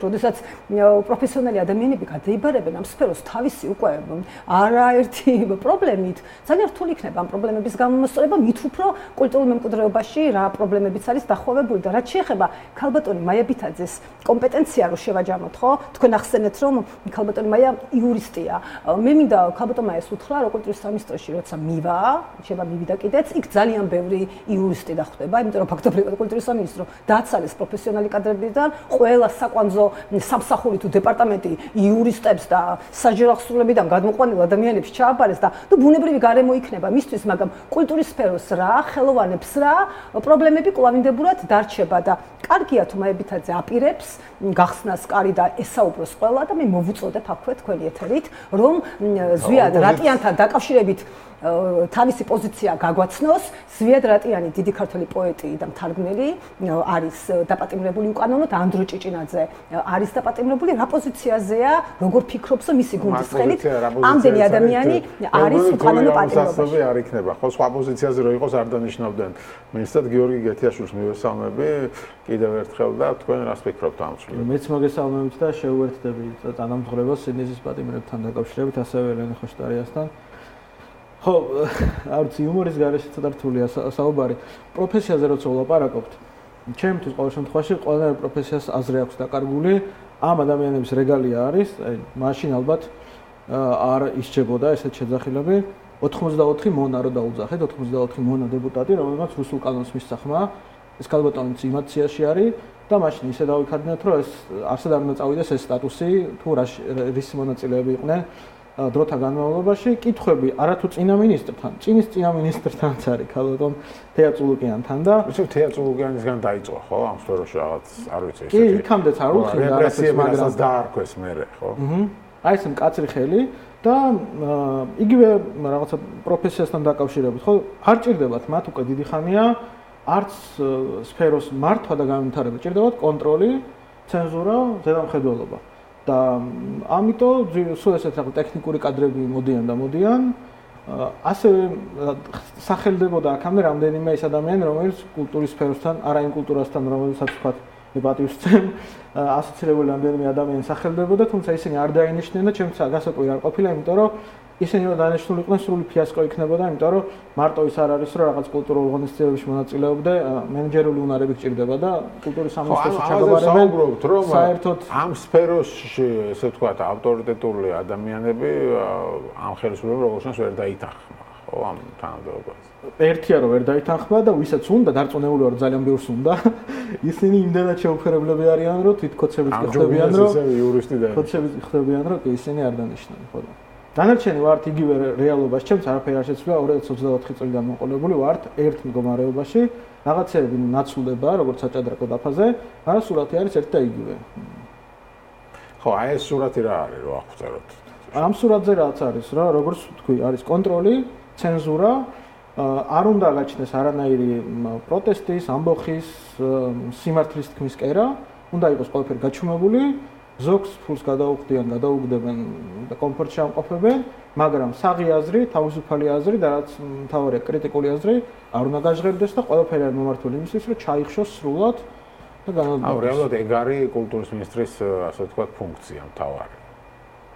როდესაც პროფესიონალი ადამიანები გადაიბარებენ ამ სფეროს თავისი უკვე არაერთი პრობლემით, ძალიან რთული იქნება ამ პრობლემების გამომწვევა, მით უფრო კულტურულ მემკვიდრეობაში რა პრობლემებიც არის დახვევებული და რაც შეეხება ქალბატონი მაია ბითაძეს კომპეტენცია რო შევაჯამოთ, ხო? თქვენ ახსენეთ, რომ ქალბატონი მაია იურისტია. მე მინდა ქალბატონ მაიას უთხრა, რომ კულტურის სამინისტროში როცა მივიდა კიდეც, იქ ძალიან ბევრი იურისტი დახვდება, იმიტომ რომ ფაქტობრივად კულტურის სამინისტრო დააცალეს პროფესიონალი კადრებიდან, ყველა საკვანძო სამსახური თუ დეპარტამენტი იურისტებს და საჯარახსრულებიდან გადმოყვანილ ადამიანებს ჩააბარეს და ბუნებრივი გარემო იქნება მისთვის, მაგრამ კულტურის სფეროს რა, ხელოვანებს რა, პრობლემები კვლავინდებურად დარჩება და კარგია თუ მაია ბითაძე აპირებს გახსნას კარი და ესაუბროს ყველა და მე მოვუწოდებ აქვე თქვენი ეთერით, რომ ზვიად რატიანთან დაკავშირებით თავისი პოზიცია გაგვაცნოს. ზვიად რატიანი დიდი ქართველი პოეტი და მთარგმნელი არის დაპატიმრებული უკანონოდ, ანდრო ჭიჭინაძე არის დაპატიმრებული, რა პოზიციაზეა, როგორ ფიქრობს მისი გუნდის ხელით ამდენი ადამიანი არის უკანონო პატიმრობაში. არ იქნება, ხო, სხვა პოზიციაზე რო იყოს არ დანიშნავდნენ. მინისტრად გიორგი გეთიაშვილს მივესალმები კიდევ ერთხელ და თქვენ რას ფიქრობთ ამ ცვლილებას? მეც მოგესალმებით და შეუერთდები თანამდებობას სინდისის პატიმრებთან დაკავშირებით, ასევე ელენე ხოშტარიასთან. ხო, არც იუმორის გარეშე ცოტა რთულია საუბარი. პროფესიაზე როცა ვლაპარაკობთ, ჩემთვის ყოველ შემთხვევაში ყველა პროფესიას აზრი აქვს დაკარგული. ამ ადამიანების რეგალია არის, მაშინ ალბათ არ ისჩებოდა ესეთ შეძახილები. 84 მონა რო დაუძახეთ, 84 მონა დეპუტატი, რომელმაც რუსულ კანონს მისცახმა, ეს ქალბატონიც იმათ სიაში არის და მაშინ ისე დავიქარდნეთ, რომ ეს არსად არ უნდა წავიდეს ეს სტატუსი, თუ რის მონაწილეები იყვნენ დროთა განმავლობაში. კითხვები არათუ წინა მინისტრთან, წინა მინისტრთანაც არის ქალბატონ თეატრულუკიანთან და ისე თეატრულუკიანისგან დაიწყო, ხო, ამ სფეროში რაღაც, არ ვიცი ესეთი. კი, იქამდეც არ უხდიდა რეპრესიები, მაგრამ დაარქვეს მერე, ხო? აი ეს მკაცრი ხელი და იგივე რაღაცა პროფესიასთან დაკავშირებით, ხო, არ ჭირდებათ მათ უკვე დიდი ხანია არც სფეროს მართვა და განვითარება, ჭირდებათ კონტროლი, ცენზურა, ზედამხედველობა. და ამიტომ სულ ესეთ რაღაც ტექნიკური კადრები მოდიან ასევე სახელდებოდა აქამდე რამდენიმე ის ადამიანი, რომელიც კულტურის სფეროსთან, არა იმ კულტურასთან, რომელსაც ვთქვათ, მე პატივს ვცემ, ასოცირებული რამდენიმე ადამიანი სახელდებოდა, თუმცა ისინი არ დაინიშნენ და ჩემთვის გასაკვირი არ ყოფილა, იმიტომ რომ ისინი რომ დანიშნული იყვნენ, სრული ფიასკო იქნებოდა, იმიტომ რომ მარტო ის არ არის, რომ რაღაც კულტურულ ღონისძიებებში მონაწილეობდე, მენეჯერული უნარები გჭირდება და კულტურის სამინისტროში ჩაგაბარებენ. საერთოდ ამ სფეროში, ესე ვთქვათ, ავტორიტეტული ადამიანები ამ ხელისუფლებამ როგორც ჩანს ვერ დაითანხმა, ხო, ამ თანამდებობას. ერთია რომ ვერ დაითანხმა და ვისაც უნდა დარწმუნებული ვარ ძალიან ბევრს უნდა, ისინი იმდენად შეუფერებლები არიან, რომ თვითკოცებით ხდებიან, რომ კოცებით ხდებიან, რომ ისინი არ დანიშნან, ხო. დანარჩენი ვართ იგივე რეალობაში, ჩემს არაფერი არ შეცვლა 2024 წლიდან მოყოლებული ვართ ერთ მდგომარეობაში, რაღაცეები ნაცვლდება, როგორც საჭადრაკო დაფაზე, მაგრამ სურათი არის ერთ და იგივე. ხო, აი ეს სურათი რა არის, რო აღწეროთ? ამ სურათზე რაც არის, რა, როგორც ვთქვი, არის კონტროლი, ცენზურა, არ უნდა გაჩნდეს არანაირი პროტესტის, ამბოხის, სიმართლის თქმის კერა, უნდა იყოს ყველაფერი გაჩუმებული. ზოგს ფულს გადაუგდებენ და კომფორტში ამყოფებენ, მაგრამ საღი აზრი, თავისუფალი აზრი და რაც მთავარია კრიტიკული აზრი არ უნდა გაჟღერდეს და ყველაფერი არის მომართული იმისთვის, რომ ჩაიხშოს სრულად და განადგურდეს. რეალურად ეგ არის კულტურის მინისტრის, ასე ვთქვათ, ფუნქცია მთავარი.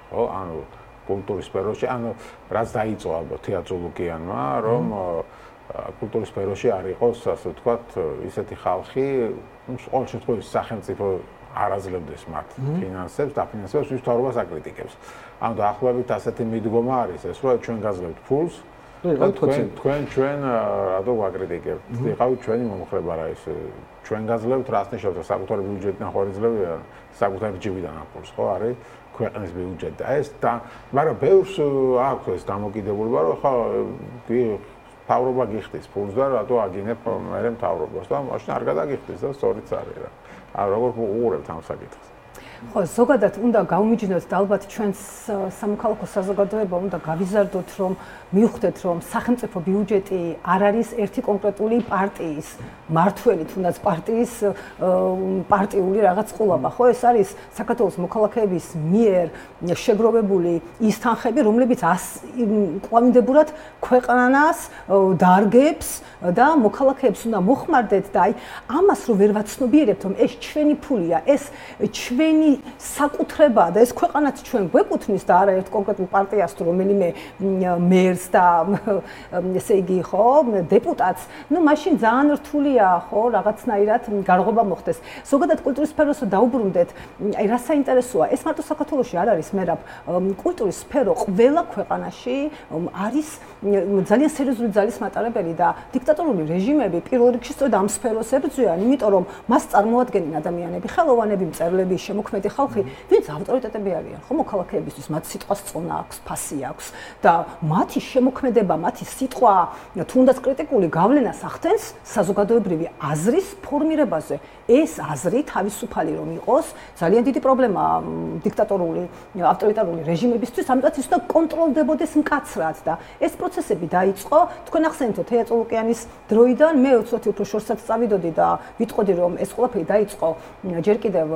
ხო, ანუ კულტურის სფეროში, ანუ რაც დაიწყო ალბათ თეატრულუკიანმა, რომ კულტურის სფეროში არ იყოს, ასე ვთქვათ, ისეთი ხალხი, ყოველ შემთხვევაში სახელმწიფო არაძლებდეს მათ ფინანსებს, დაფინანსებას, ვის მთავრობას აკრიტიკებს. ანუ დაახლოებით ასეთი მიდგომა არის ეს, რომ ჩვენ გაძლევთ ფულს და ჩვენ რატო ვაკრიტიკებთ? იყავით ჩვენი მომხრება რა ის ჩვენ გაძლევთ, რას ნიშნავს საკუთარი ბიუჯეტიდან ხორიძლებია, საკუთარი ჯიბიდან აფულს, ხო, არის ქვეყნის ბიუჯეტი. და ეს და მაგრამ ბევრს აქვს ეს დამოკიდებულება, რომ ხო მთავრობა გიხდის ფულს და რატო აგინებ მერე მთავრობას და მაშინ არ გადაგიხდის და სწორიც არის რა. არ როგორ უყურებთ ამ საკითხს? ხო, ზოგადად უნდა გავმიჯნოთ და ალბათ ჩვენს სამოქალაქო საზოგადოება უნდა გავიზარდოთ, რომ მივხვდეთ, რომ სახელმწიფო ბიუჯეტი არ არის ერთი კონკრეტული პარტიის მართველი, თუნდაც პარტიის პარტიული რაღაც ყოლაბა, ხო? ეს არის საქართველოს მოქალაქეების მიერ შეგროვებული ის თანხები, რომლებიც კვლავინდებურად ქვეყანას დარგებს და მოქალაქეებს უნდა მოხმარდეთ და აი ამას რო ვერ ვაცნობიერებთ, რომ ეს ჩვენი ფულია, ეს ჩვენი საკუთრებაა და ეს ქვეყანაც ჩვენ გვეკუთვნის და არა ერთ კონკრეტულ პარტიას თუ რომელიმე მერს და ესე იგი ხო დეპუტატს, ну მაშინ ძალიან რთულია ხო რაღაცნაირად გარღვევა მოხდეს. ზოგადად კულტურის სფეროს დაუბრუნდეთ, აი რა საინტერესოა, ეს მარტო საქართველოში არ არის მერაბ, კულტურის სფერო ყველა ქვეყანაში არის ძალიან სერიოზული ძალის მატარებელი და დიქტატორული რეჟიმები პირველ რიგში სწორედ ამ სფეროს ებრძვიან, იმიტომ რომ მას წარმოადგენენ ადამიანები, ხელოვანები, მწერლები, შემოქმედი ხალხი, ვინც ავტორიტეტები არიან, ხო მოქალაქეებისთვის, მათ სიტყვას წონა აქვს, ფასი აქვს და მათი შემოქმედება, მათი სიტყვა, თუნდაც კრიტიკული გავლენას ახდენს საზოგადოებრივი აზრის ფორმირებაზე. ეს აზრი თავისუფალი რომ იყოს, ძალიან დიდი პრობლემაა დიქტატორული, ავტორიტარული რეჟიმებისთვის, ამიტომ ის უნდა კონტროლდებოდეს მკაცრად და ეს პროცესები დაიწყო, თქვენ ახსენეთ თეა წოლუკიანის დროიდან, მე უცბად უფრო შორსაც წავიდოდი და ვიტყოდი რომ ეს ყველაფერი დაიწყო ჯერ კიდევ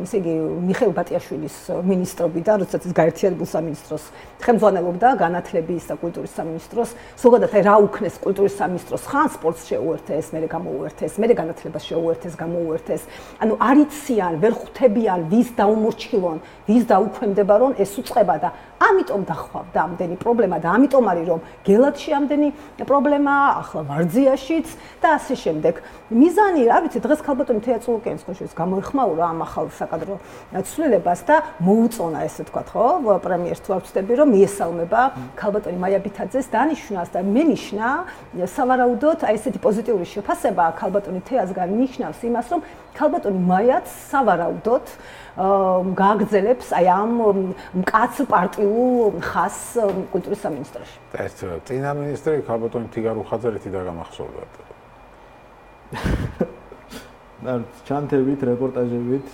ესე იგი მიხეილ ბატიაშვილის მინისტრობიდან, როდესაც ის გაერთიანებულ სამინისტროს ხელმძღვანელობდა, განათლების და კულტურის სამინისტროს, ზოგადად აი რა უქნეს კულტურის სამინისტროს ხან სპორტს შეუერთეს, მერე გამოუერთეს, მერე განათლებას შეუერთეს, უერთეს. ანუ არიციან, ვერ ხვდებიან, ვის დაუმორჩილონ, ვის დაუქვემდება, რომ ეს უწყება და ამიტომ დახვავდა ამდენი პრობლემა და ამიტომ არის რომ გელათში ამდენი პრობლემა, ახლა ვარძიაშიც და ასე შემდეგ. მიზანი, რა ვიცი, დღეს ქალბატონი თეა წულუკიანის ხოშის გამოიხმაურა ამ ახალ საკადრო ცვლილებას და მოუწონა ესე თქვა, ხო? პრემიერს თუ არ ვცდები, რომ მიესალმება ქალბატონი მაია ბითაძეს დანიშვნას და მე ნიშნა სავარაუდოდ აი ესეთი პოზიტიური შეფასება ქალბატონი თეასგან ნიშნავს იმას, რომ ქალბატონი მაიაც სავარაუდოდ გააგრძელებს აი ამ მკაცრ პარტიულ ხაზს კულტურის სამინისტროში. ეს წინა მინისტრი ქალბატონი თიგარუხაძე ერთი დაგამახსოვრდა. და ჩანთებით, რეპორტაჟებით.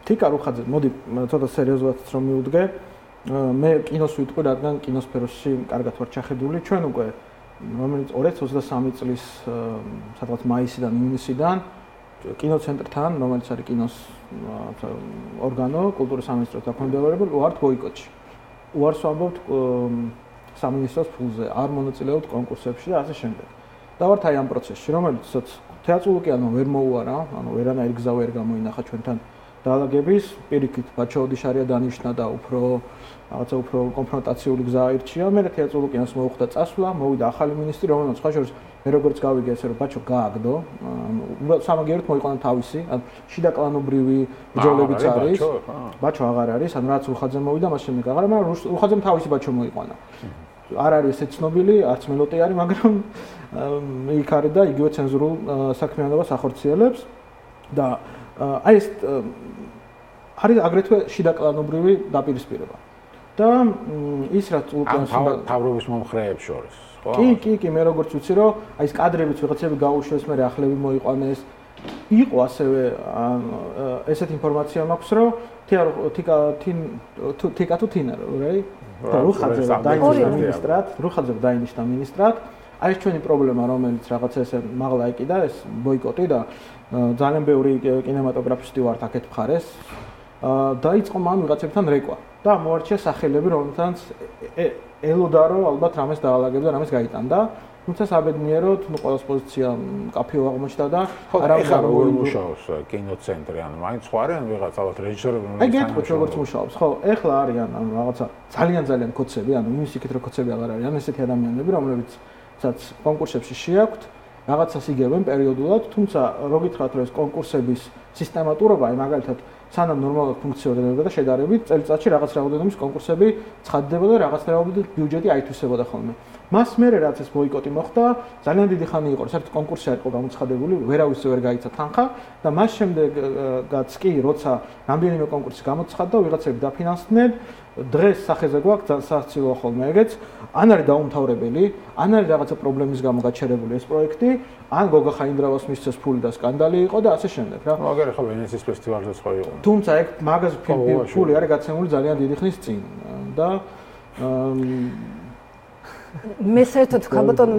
თიგარუხაძე, მოდი ცოტა სერიოზულად რომ მივუდგე, მე კინოს ვიტყვი, რადგან კინოსფეროში კარგად ვარ ჩახედული, ჩვენ უკვე რომელიც 2023 წლის სადღაც მაისიდან, ივნისიდან კინოცენტრთან, რომელიც არის კინოს ორგანო, კულტურის სამინისტროს დაქვემდებარებული, ვართ ბოიკოტში. უარს ვამბობთ სამინისტროს ფულზე, არ მონაწილეობთ კონკურსებში და ასე შემდეგ. და ვართ აი ამ პროცესში, რომელიც თეა წულუკიანმა ვერ მოუარა, ანუ ვერანაირი გზა ვერ გამოინახა ჩვენთან დაალაგების, პირიქით ბაჩაოდიშარია დანიშნა და რაღაცა უფრო კონფრონტაციული გზა აირჩია. მე თეა წულუკიანს მოუხდა წასვლა, მოვიდა ახალი მინისტრი, რომელიც სხვა შორის მე როგორც გავიგე ესე რომ ბაჩო გააგდო, ანუ სამაგიეროდ მოიყვანა თავისი, ანუ შიდაკლანობრივი ბრძოლებიც არის. ბაჩო აღარ არის, ანუ რაც რუხაძე მოვიდა, მას შემდეგ აღარ, მაგრამ რუხაძემ თავისი ბაჩო მოიყვანა. არ არის ესე ცნობილი, არც მელოტი არის, მაგრამ იქ არის და იგივე ცენზურულ საქმიანობას ახორციელებს და აი ეს არის აგრეთვე შიდაკლანობრივი დაპირისპირება. და ის რაც წულუკიანს თავრობის მომხრეებს შორის, ხო? კი, მე როგორც ვიცი, რომ აი ეს კადრებიც ვიღაცები გაუშვეს, მე ახლები მოიყვანეს. იყო ასევე ესეთ ინფორმაცია მაქვს, რომ თიკა თუ თინა, რაი? რუხაძე დაინიშნა მინისტრად. აი ეს ჩვენი პრობლემა, რომელიც რაღაცა ესე მაღლა იკიდა, ეს ბოიკოტი და ძალიან ბევრი კინემატოგრაფისტი ვართ აქეთ მხარეს. დაიწყო მან ვიღაცებთან რეკვა და მოარჩია სახელები, რომელთაც ელოდა რომ ალბათ რამეს დაალაგებდა, რამეს გაიტანდა. თუმცა საბედნიეროდ, ყველას პოზიცია კაფეო აღმოჩნდა და არავინ არ მუშაობს კინოცენტრი, ანუ მაინც ხო არიან ვიღაც ალბათ რეჟისორები, აი გეტყვით როგორც მუშაობს, ხო, ეხლა არიან ანუ რაღაცა ძალიან კოცები, ანუ იმის იქით რომ კოცები აღარ არიან, ესეთი ადამიანები, რომლებიცაც კონკურსებში შეაქვთ, რაღაცას იგებენ პერიოდულად, თუმცა რო გითხრათ რომ ეს კონკურსების სისტემატურობა, აი მაგალითად სანამ ნორმალურად ფუნქციონირებდა და შედარებით წელიწადში რაღაც რაოდენობის კონკურსები ცხადდებოდა და რაღაც რაოდენობის ბიუჯეტი აითვისებოდა ხოლმე. მას მერე რაც ეს ბოიკოტი მოხდა, ძალიან დიდი ხანი იყო, საერთოდ კონკურსი არ იყო გამოცხადებული, ვერავის ვერ გაიცა თანხა და მას შემდეგაც კი, როცა რამდენიმე კონკურსი გამოცხადდა, ვიღაცები დაფინანსდნენ, დღეს სახეზე გვაქვს სასაცილოა ხოლმე ეგეც, ან არის დაუმთავრებელი, ან არის რაღაცა პრობლემის გამო გაჩერებული ეს პროექტი, ან გოგა ხაინდრავას მისცეს ფული და სკანდალი იყო და ასე შემდეგ რა. მაგარი ხო ვენეციის ფესტივალზეც ხო იყო. თუმცა ეგ მაგას ფული არის გაცემული ძალიან დიდი ხნის წინ და მე საერთოდ ხალბატონ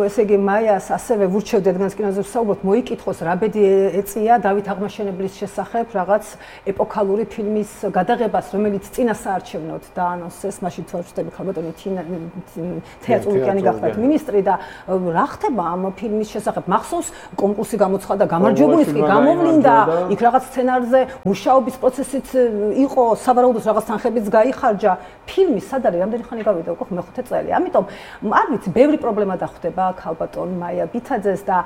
ესე იგი მაიას ასევე ვურჩევდი რადგან კინოზე ვსაუბრობთ მოიკითხოს რა ბედი ეწია დავით აღმაშენებლის შესახებ რაღაც ეპოქალური ფილმის გადაღებას რომელიც წინასაარჩევნოდ დაანონსეს მაშინ თუ არ ვცდები ხალბატონი თეატრალურიანი გახდათ მინისტრი და რა ხდება ამ ფილმის შესახებ მახსოვს კონკურსი გამოცხადა გამარჯვებულიც კი გამოვლინდა იქ რაღაც სცენარზე მუშაობის პროცესიც იყო სავარაუდოდ რაღაც თანხებიც გაიხარჯა ფილმი სად არის რამდენი ხანი გავიდა უკვე მეხუთე წელი ამიტომ არ ვიცი ბევრი პრობლემა დახვდება ქალბატონ მაია ბითაძეს და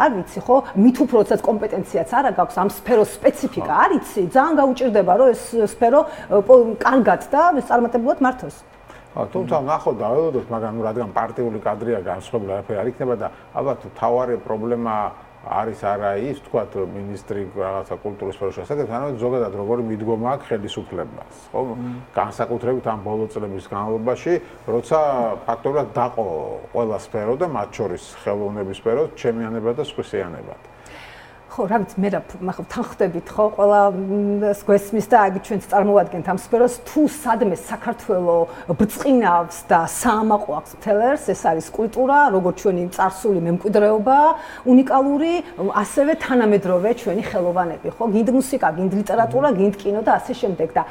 არ ვიცი ხო მით უფროსაც კომპეტენციაც არა გაქვს ამ სფეროს სპეციფიკა არ იცი ძალიან გაუჭირდება რომ ეს სფერო კარგად და წარმატებულად მართოს თუმცა ნახოთ დაველოდოთ მაგრამ რადგან პარტიული კადრია განსხვავებული არაფერი არ იქნება და ალბათ თავარი პრობლემა არის არა ის თქვათ მინისტრი რაღაცა კულტურის სფეროში ასაკეთ არამედ ზოგადად როგორი მიდგომა აქვს ხელისუფლებას ხო განსაკუთრებით ამ ბოლო წლების განმავლობაში როცა ფაქტობრივად დაყო ყველა სფერო და მათ შორის ხელოვნების სფერო ჩემიანებად და სხვისიანებად ხო რა ვიცი მე ახლა თან ხდებით ხო ყველა გვესმის და აი ჩვენც წარმოვადგენთ ამ სფეროს თუ სადმე საქართველოს ბრწყინავს და საამაყო აქვს მთელერს ეს არის კულტურა როგორც ჩვენი წარსული მემკვიდრეობა უნიკალური ასევე თანამედროვე ჩვენი ხელოვანები ხო გინდ მუსიკა გინდ ლიტერატურა გინდ კინო და ასე შემდეგ და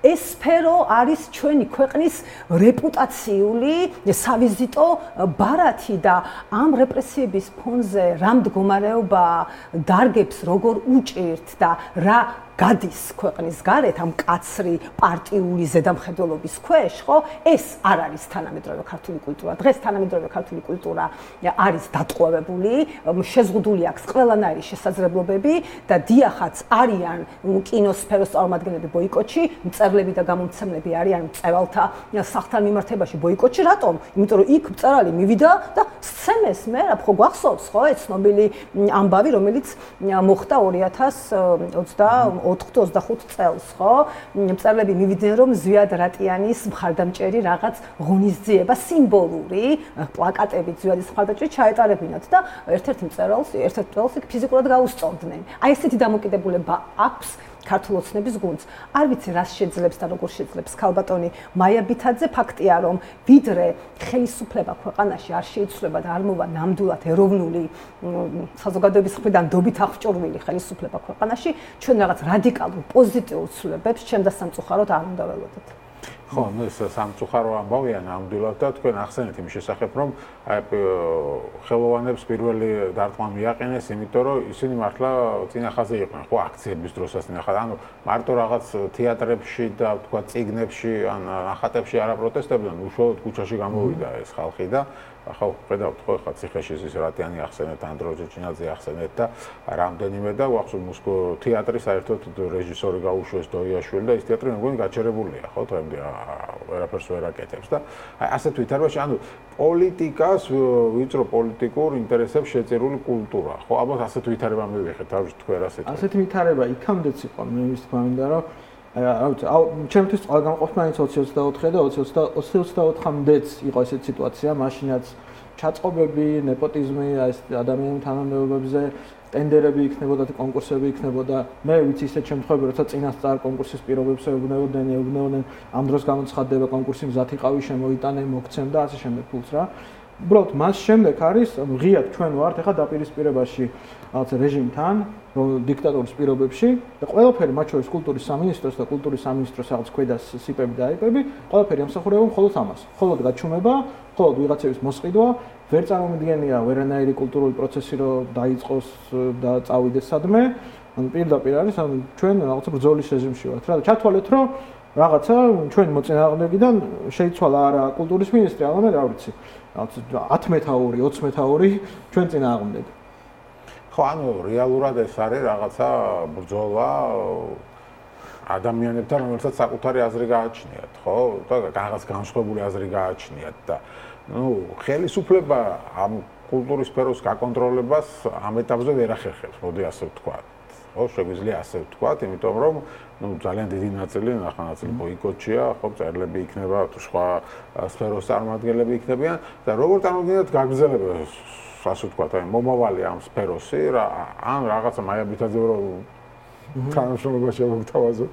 ეს სფერო არის ჩვენი ქვეყნის რეპუტაციული სავიზიტო ბარათი და ამ რეპრესიების ფონზე რა მდგომარეობა დარგებს როგორ უჭირთ და რა გადის ქვეყნის გარეთ ამ კაცრი პარტიული ზედამხედველობის ქვეშ, ხო? ეს არ არის თანამედროვე ქართული კულტურა. დღეს თანამედროვე ქართული კულტურა არის დატყვევებული, შეზღუდული აქვს ყველანაირი შესაძლებლობები და დიახაც არიან კინოსფეროს წარმომადგენლები ბოიკოტში, მწერლები და გამომცემლები არიან მწერალთა სახლთან მიმართებაში ბოიკოტში. რატომ? იმიტომ რომ იქ მწერალი მივიდა და სცემეს მე რა ხო გვახსოვს, ხო? ეს ცნობილი ამბავი, რომელიც მოხდა 2024-25 წელს, ხო? მწერლები მივიდნენ რომ ზვიად რატიანის მხარდამჭერი რაღაც ღონისძიება სიმბოლური პლაკატებით ზვიადის მხარდამჭერი ჩაეტარებინათ და ერთ-ერთ მწერალს იქ ფიზიკურად გაუსწორდნენ. აი ესეთი დამოკიდებულება აქვს ქართულ ოცნების გუნდს. არ ვიცი რას შეძლებს და როგორ შეძლებს ქალბატონი მაია ბითაძე, ფაქტია რომ ვიდრე ხელისუფლება ქვეყანაში არ შეიცვლება და არ მოვა ნამდვილად ეროვნული საზოგადოების მხრიდან დობით აღჭურვილი ხელისუფლება ქვეყანაში, ჩვენ რაღაც რადიკალურ პოზიტიურ ცვლილებებს ჩემ და სამწუხაროდ არ უნდა ველოდოთ. ხო, ეს სამწუხარო ამბავია ნამდვილად და თქვენ ახსენეთ იმის შესახებ, რომ ხელოვანებს პირველი დარტყმა მიაყენეს, იმიტომ რომ ისინი მართლა წინახაზე იყვნენ, ხო, აქციების დროსაც წინახად, ანუ მარტო რაღაც თეატრებში და თქვა წიგნებში ან ნახატებში არა პროტესტებდნენ, უშუალოდ ქუჩაში გამოვიდა ეს ხალხი და ახლა ხედავთ ხო ხა ციხეში ის რატიანი ახსენეთ ანდრო ჯეჭინაძე ახსენეთ და რამდენიმე და ვახსოვ მოსკო თეატრი საერთოდ რეჟისორი გაუშვეს დოიაშვილი და ის თეატრი მე მგონი გაჩერებულია ხო თემდე ვერაფერს ვერ აკეთებს და აი ასეთ ვითარებაში ანუ პოლიტიკას ვიწრო პოლიტიკურ ინტერესებს შეწირული კულტურა ხო ალბათ ასეთ ვითარება მივიღეთ არ ვიცი თქვენ ასეთ ვითარება იქამდეც იყო მე ის თქვა მინდა რომ ჩემთვის წყალგამყოფნაიც 2024 და 2024-მდეც იყო ესეთი სიტუაცია, მაშინაც ჩაწყობები, ნეპოტიზმი, ეს ადამიანის თანამდებობებზე, ტენდერები იქნებოდა და კონკურსები იქნებოდა. მე ვიცი ისეთ შემთხვევები, როცა წინასწარ კონკურსის პირობებს ეუბნებოდნენ, ამ დროს გამოცხადდება კონკურსი, მზად იყავი, შემოიტანე, მოგცემ და ასე შემდეგ ფულს რა. უბრალოდ მას შემდეგ არის, ღიად ჩვენ ვართ ახლა დაპირისპირებაში რაღაც რეჟიმთან, დიქტატურის პირობებში და ყველაფერი მათ შორის კულტურის სამინისტროს და კულტურის სამინისტროს რაღაც ქვედა სიპები და აიპები, ყველაფერი ამსახურება მხოლოდ ამას. მხოლოდ გაჩუმება, მხოლოდ ვიღაცების მოსყიდვა, ვერ წარმომიდგენია ვერანაირი კულტურული პროცესი რომ დაიწყოს და წავიდეს სადმე. ანუ პირდაპირ არის, ანუ ჩვენ რაღაცა ბრძოლის რეჟიმში ვართ რა და ჩათვალეთ რომ რაღაცა ჩვენი მოწინააღმდეგიდან შეიცვალა არა კულტურის მინისტრი, არამედ რა ვიცი, რაღაც 10 მეთაური, 20 მეთაური ჩვენ წინააღმდეგ. ხო, ანუ რეალურად ეს არის რაღაცა ბრძოლა ადამიანებთან, რომელსაც საკუთარი აზრი გააჩნიათ, ხო? და რაღაც განსხვავებული აზრი გააჩნიათ და ხელისუფლება ამ კულტურის სფეროს გაკონტროლებას ამ ეტაპზე ვერ ახერხებს, მოდი ასე ვთქვათ. ხო, შეგვიძლია ასე ვთქვათ, იმიტომ რომ ძალიან დიდი ნაწილი, ნახანაწილი ბოიკოტშია, ხო, მწერლები იქნება, სხვა სფეროს წარმომადგენლები იქნებიან და როგორ წარმოგიდგენთ გაგრძელება ასე ვთქვათ, აი მომავალი ამ სფეროსი რა ან რაღაცა მაია ბითაძე რომ თანამშრომლობაში მოგთავაზოთ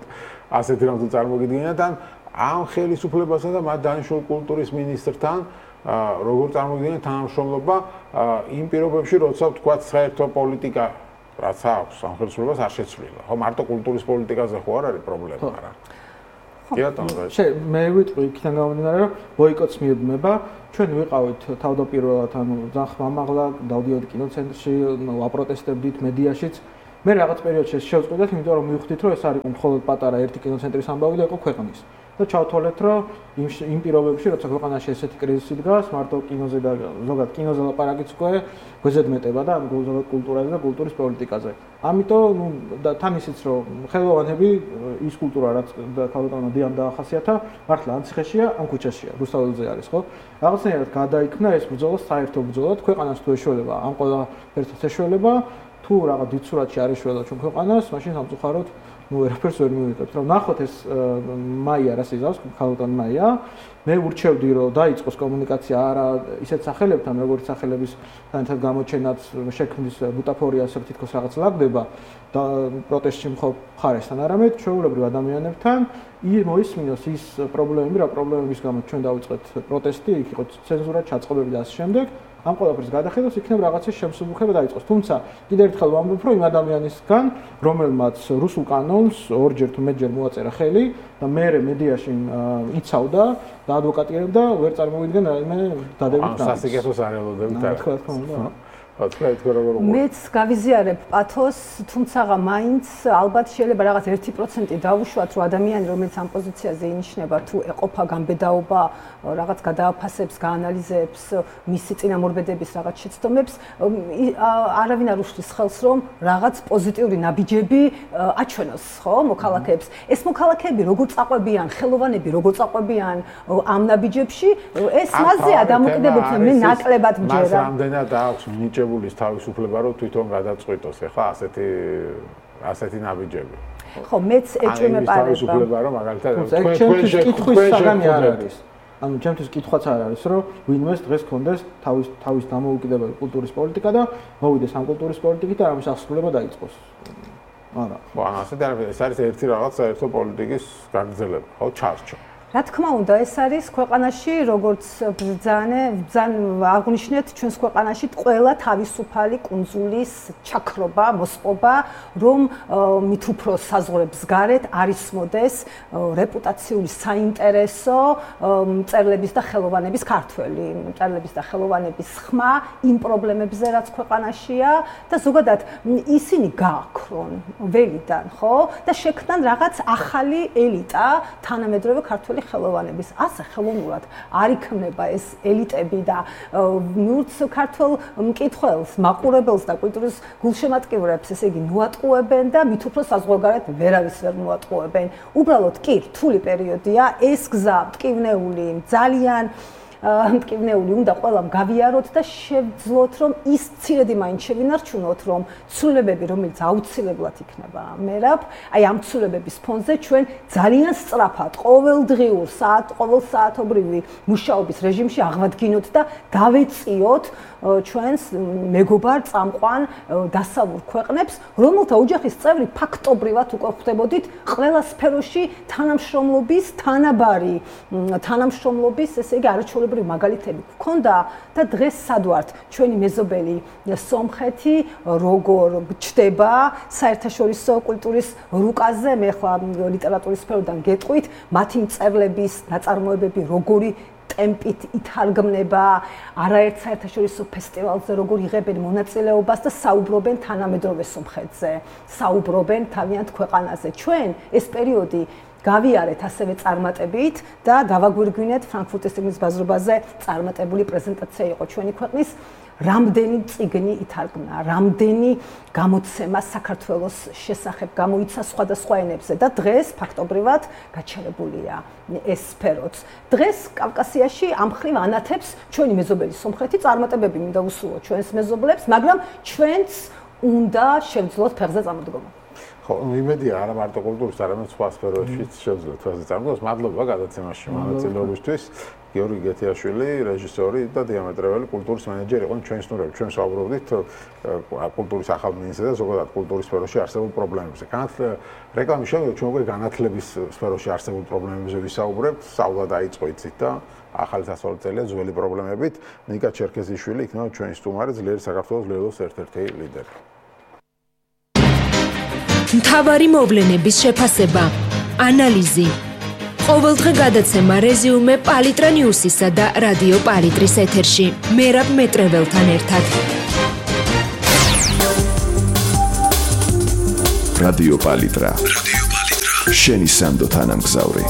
ასეთი რამ თუ წარმოგიდგენთ ან ამ ხელისუფლებასა და მათ დანიშნულ კულტურის მინისტრთან როგორ წარმოგიდგენთ თანამშრომლობა იმ პირობებში, როცა თქვათ საერთო პოლიტიკა რაც აქვს სახელმწიფოს არ შეცვლილა. ხო, მარტო კულტურის პოლიტიკაზე ხო არ არის პრობლემა, არა. კი ბატონო. მე ვიტყვი იქიდან გამომდინარე, რომ ბოიკოტს მიეძნება. ჩვენ ვიყავით თავდაპირველად, ანუ ძალიან ხმამაღლა დავდიოდით კინოცენტრში, ვაპროტესტებდით მედიაშიც. მე რაღაც პერიოდში შევწყვეტეთ, იმიტომ რომ მივხვდით, რომ ეს არის მხოლოდ პატარა ერთი კინოცენტრის ამბავი და იყო ქვეყნის. და ჩავთვალეთ, რომ იმ პირობებში, როცა ქვეყანაში ესეთი კრიზისი დგას, მარტო კინოზე და ზოგადად კინოზე ლაპარაკიც უკვე გვეზედმეტება და ზოგადად კულტურაზე და კულტურის პოლიტიკაზე. ამიტომ და თან ისიც რომ ხელოვანები ის კულტურა რაც ქალბატონმა დიამ დაახასიათა, მართლა ან ციხეშია, ან ქუჩაშია, რუსთაველზე არის, ხო? რაღაცნაირად გადაიქმნა ეს ბრძოლა საერთო ბრძოლად, ქვეყანას თუ ეშველება, ამ ყველაფერს ეშველება, თუ რაღაც დიდ სურათში არ ეშველა ჩვენ ქვეყანას, მაშინ სამწუხაროდ ვერაფერს ვერ მივიღებთ. რომ ნახოთ ეს მაია რას იზავს, ქალბატონ მაია, მე ურჩევდი რომ დაიწყოს კომუნიკაცია არა ისეთ სახელებთან, როგორც სახელების თანაც გამოჩენაც შექმნის ბუტაფორიას თითქოს რაღაც ლაგდება და პროტესტში მხარესთან, არამედ ჩვეულებრივ ადამიანებთან მოისმინოს ის პრობლემები, რა პრობლემების გამო ჩვენ დავიწყეთ პროტესტი, იქ იყო ცენზურა, ჩაწყობები და ასე შემდეგ. ამ ყველაფერს გადახედავს, იქნებ რაღაცის შემსუბუქება დაიწყოს. თუმცა კიდევ ერთხელ ვამბობ, რომ იმ ადამიანისგან, რომელმაც რუსულ კანონს ორჯერ თუ მეტჯერ მოაწერა ხელი და მერე მედიაში იცავდა და ადვოკატირებდა, ვერ წარმოვიდგენ რაიმე დადებით. სასიკეთოს არ ელოდებთ არა. თქო უნდა. მეც გავიზიარებ პათოს, თუმცა მაინც ალბათ შეიძლება რაღაც 1% დავუშვათ, რომ ადამიანი, რომელიც ამ პოზიციაზე ინიშნება, თუ ეყოფა გამბედაობა, რაღაც გადააფასებს, გაანალიზებს მისი წინამორბედების რაღაც შეცდომებს, არავინ არ უშლის ხელს, რომ რაღაც პოზიტიური ნაბიჯები აჩვენოს, ხო, მოქალაქეებს. ეს მოქალაქეები როგორ წაყვებიან, ხელოვანები როგორ წაყვებიან ამ ნაბიჯებში, ეს მასზეა დამოკიდებულება, მე ნაკლებად მჯერა. მას რამდენად აქვს მინიჭებულის თავისუფლება, რომ თვითონ გადაწყვიტოს, ეხლა ასეთი ნაბიჯები. ხო, მეც ეჭვმეპარება. თავისუფლება, რომ მაგალითად თქვენთვის კითხვის საგანი არ არის. ანუ ჩემთვის კითხვაც არ არის, რომ ვინმეს დღეს კონდეს თავის დამოუკიდებელი კულტურის პოლიტიკა და მოვიდეს ამ კულტურის პოლიტიკით და ამის აღსრულება დაიწყოს. არა. ხო, ასეთი ეს არის ერთი რაღაც საერთო პოლიტიკის გაგრძელება, ხო, ჩარჩო. რა თქმა უნდა, ეს არის ქვეყანაში, როგორც ძალიან აღნიშნეთ, ჩვენს ქვეყანაში ყველა თავისუფალი კუნძულის ჩაქრობა, მოსპობა, რომ მით უფრო საზღვრებს გარეთ არ ისმოდეს რეპუტაციული საინტერესო მწერლების და ხელოვანების ქართველი, მწერლების და ხელოვანების ხმა იმ პრობლემებზე, რაც ქვეყანაშია და ზოგადად ისინი გააქრონ ველიდან, ხო? და შექმნან რაღაც ახალი ელიტა, თანამედროვე ქართველი ხელოვანების. ასე ხელოვნურად არ იქმნება ეს ელიტები და ნურც ქართველ მკითხველს, მაყურებელს და კულტურის გულშემატკივრებს, ესე იგი, მოატყუებენ და მით უფრო საზღვარგარეთ ვერავის ვერ მოატყუებენ. უბრალოდ კი რთული პერიოდია, ეს გზა მტკივნეული, ძალიან მტკივნეული უნდა ყველამ გავიაროთ და შევძლოთ, რომ ის მცირედი მაინც შევინარჩუნოთ, რომ ცვლილებები, რომელიც აუცილებლად იქნება მერაბ, აი ამ ცვლილებების ფონზე ჩვენ ძალიან სწრაფად ყოველდღიურ ყოველსაათობრივი მუშაობის რეჟიმში აღვადგინოთ და დავეწიოთ ჩვენს მეგობარ წამყვან დასავლურ ქვეყნებს, რომელთა ოჯახის წევრი ფაქტობრივად უკვე ხვდებოდით ყველა სფეროში თანამშრომლობის თანაბარი თანამშრომლობის, ესე იგი, არაჩვეულებრივი მაგალითები გქონდა და დღეს სად ვართ ჩვენი მეზობელი სომხეთი როგორ ჩდება საერთაშორისო კულტურის რუკაზე, მე ხლა ლიტერატურის სფეროდან გეტყვით, მათი მწერლების ნაწარმოებები როგორი ტემპით ითარგმნება, არაერთ საერთაშორისო ფესტივალზე როგორ იღებენ მონაწილეობას და საუბრობენ თანამედროვე სომხეთზე, საუბრობენ თავიანთ ქვეყანაზე. ჩვენ ეს პერიოდი გავიარეთ ასევე წარმატებით და დავაგვირგვინეთ ფრანკფურტის წიგნის ბაზრობაზე წარმატებული პრეზენტაცია იყო ჩვენი ქვეყნის. რამდენი წიგნი ითარგმნა, რამდენი გამოცემა საქართველოს შესახებ გამოიცა სხვადასხვა ენებზე და დღეს ფაქტობრივად გაჩერებულია ეს სფეროც. დღეს კავკასიაში ამ ხრივ ანათებს ჩვენი მეზობელი სომხეთი, წარმატებები მინდა ვუსურვოთ ჩვენს მეზობლებს, მაგრამ ჩვენც უნდა შევძლოთ ფეხზე წამოდგომა. ხო, იმედია არა მარტო კულტურის, არამედ სხვა სფეროებშიც შეძლოთ ასე წარმოდგოს. მადლობა გადაცემაში მონაწილეობისთვის. გიორგი გეთიაშვილი, რეჟისორი და დიამეტრეველი კულტურის მენეჯერი იყო ჩვენ სტუდიაში. ჩვენ საუბრობდით კულტურის ახალ მინისტრზე და ზოგადად კულტურის სფეროში არსებულ პრობლემებზე. რეკლამის შემდეგ ჩვენ უკვე განათლების სფეროში არსებულ პრობლემებზე ვისაუბრებთ. სწავლა დაიწყო იცით და ახალი სასწავლო წელია ძველი პრობლემებით. ნიკა ჩერქეზიშვილი იქნება ჩვენი სტუმარი, ძლიერი საქართველოს ლელოს ერთ-ერთი ლიდერი. მთავარი მოვლენების შეფასება, ანალიზი. ყოველდღე გადაცემა რეზიუმე პალიტრა ნიუსისა და რადიო პალიტრის ეთერში. მერაბ მეტრეველთან ერთად. რადიო პალიტრა. შენი სანდო თანამგზავრი.